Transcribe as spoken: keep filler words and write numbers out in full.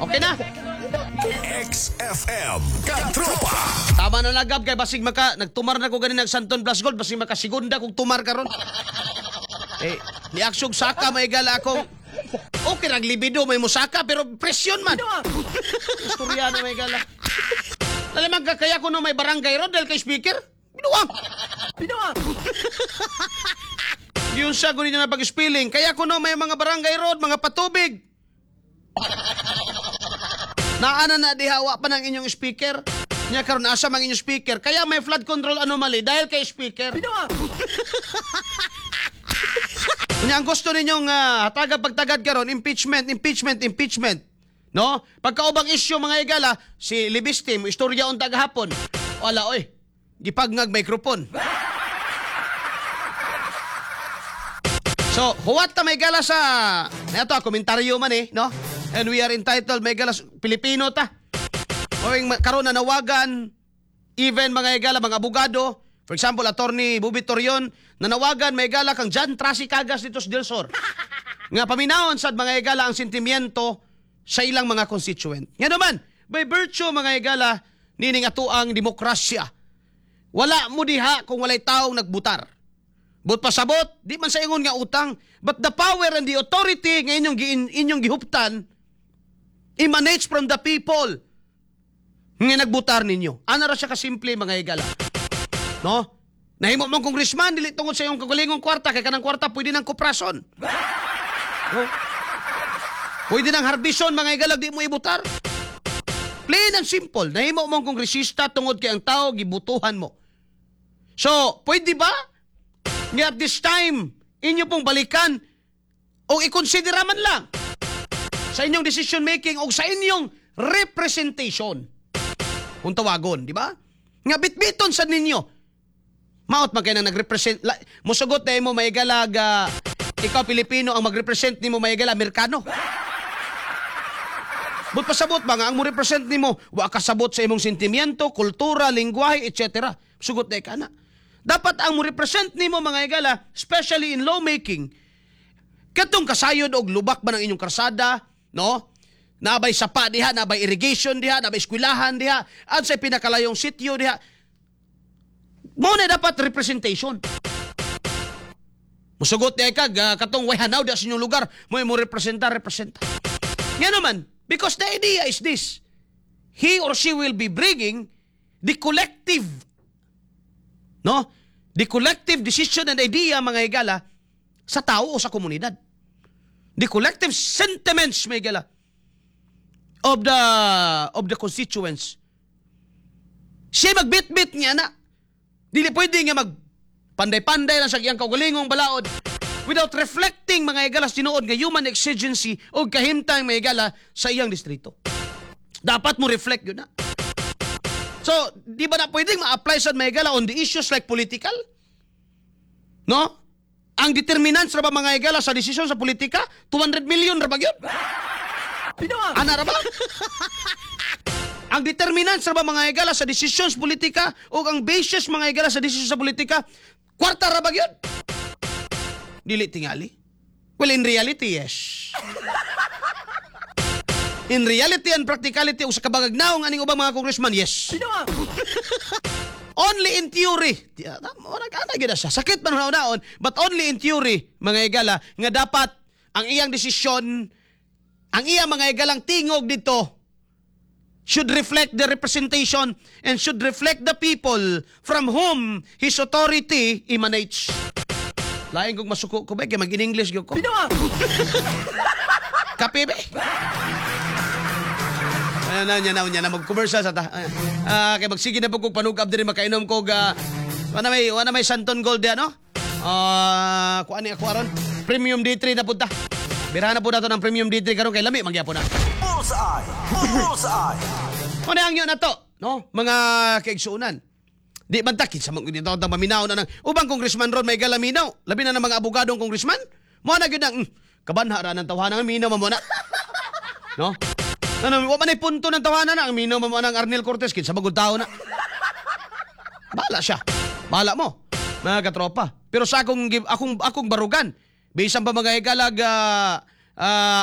Okay na. X F M Katropa. Tama na nagab kay basig maka nagtumar na ko ganin nag Santon Plus Gold, basig makasigunda kog tumar karon. Eh, ni aksyog saka may gala akong okay rag libido may musaka pero presyon man. Istorya na may gala. Lalimang ka kaya kuno may barangay road dahil kay speaker. Binuang. Binuang. Yun siya gunin na pag-spelling. Kaya kuno may mga barangay road, mga patubig. Naana na dihawa pa ng inyong speaker. Nya karon asa mang inyong speaker. Kaya may flood control anomaly dahil kay speaker. Binuang. Nya ang gusto ninyong uh, hataga pagtagad karon, impeachment, impeachment, impeachment. No? Pagkaubang issue, mga igala, si Libistim, istorya unta gahapon. Wala oy. Gipagngag microphone. So, huwat ta may gala sa eto komentaryo man eh, no? And we are entitled may gala Pilipino ta. Oing karon na nawagan even mga igala mga abogado, for example, Attorney Bobby Torion, nanawagan may gala kang John Trasi Cagas dito sa Delsor. Nga paminawon sad mga igala ang sentimiento sa ilang mga constituent. Nga naman, by virtue mga igala nining atuang demokrasya. Wala mo diha kung walay taong nagbutar. But pasabot, di man sa ingon nga utang, but the power and the authority nga inyong, gi, inyong gihuptan emanates from the people nga nagbutar ninyo. Ana ra siya kasimple mga igala. No? Nahimo mong congressman dili tungod sa iyong kagalingong kwarta kay kanang kwarta pwede nang kuprason. No? Pwede nang harbison mga igala di mo ibutar. Plain and simple, nahimo mong kongresista tungod kay ang tao gibutuhan mo. So, pwede ba nga at this time, inyo pong balikan o ikonsidera man lang sa inyong decision making o sa inyong representation? Kung tawagon, di ba? Nga bitbiton sa ninyo. Maot man kay na nagrepresent. La, musugot na mo may galag, ah, ikaw Pilipino ang magrepresent nimo may gala Amerikano. But pasabot ba nga ang mo represent nimo wa kasabot sa imong sentimiento, kultura, lingwahe, et cetera. Sugot na ka na. Dapat ang mo represent nimo mga igala, especially in lawmaking, katong kasayod og lubak ba ng inyong karsada, no? Nabay sapa diha, nabay irrigation diha, nabay eskwelahan diha, at sa pinakalayong sityo diha. Mo na dapat representation. Musugot diha ka, ga- katong way hanaw diha sa inyong lugar, mo mo representa, representa. Nga naman, because the idea is this, he or she will be bringing the collective, no? The collective decision and idea, mga higala, sa tao o sa komunidad. The collective sentiments, mga higala, of the of the constituents. Siya magbit-bit niya na. Dili pwede nga mag panday-panday lang sa iyang kaugalingong balaod without reflecting mga higala sa tinuod nga human exigency o kahimtang mga higala sa iyang distrito. Dapat mo reflect yun na. So, di ba na pwedeng ma-apply sa mga higala on the issues like political? No? Ang determinants ra ba mga higala sa desisyon sa politika? two hundred million ra ba yun? Binuang. Ana ra ba? Ang determinants ra ba mga higala sa desisyon sa politika o ang basis mga higala sa desisyon sa politika, kwarta ra ba yun? Dili tingali. Well, in reality, yes. In reality and practicality o sa kabagagnaong aning ubang mga congressman, yes. Binuang. Only in theory. Di- ah, Wala ka na siya. Sakit man hunaon, but only in theory, mga higala, nga dapat ang iyang desisyon, ang iyang mga higalang tingog dito, should reflect the representation and should reflect the people from whom his authority emanates. Lain kong masuko ko ba, kay mag-in-English gyud ko. Binuang. Kape ba? Ano na niya na niya na mag-commercial sa ta. Ah, kay magsige na po kog panugab diri makainom kog uh, wala may wala may Santon Gold diyan, no? Ah, kuan ni ako aron. Premium D three na punta. Birahan na po nato ng Premium D three karon kay lami magyapon na. Bullseye! Bullseye! Ano ang yun na to, no? Mga kaigsuonan. Di man ta kinsa man dito ta maminaw na ng ubang congressman ron may galaminaw. Labi na ng mga abogadong congressman. Mo na gyud ang mm, kabanha ra ng tawhana nga minaw man mo na. No? Ano, wa man ay punto ng tawanan na ang minaw man mo ng Arnel Cortez kinsa magud tao na. Bahala siya. Bahala mo, mga katropa. Pero sa akong akong akong barugan, bisan pa mga higalag ah, ah,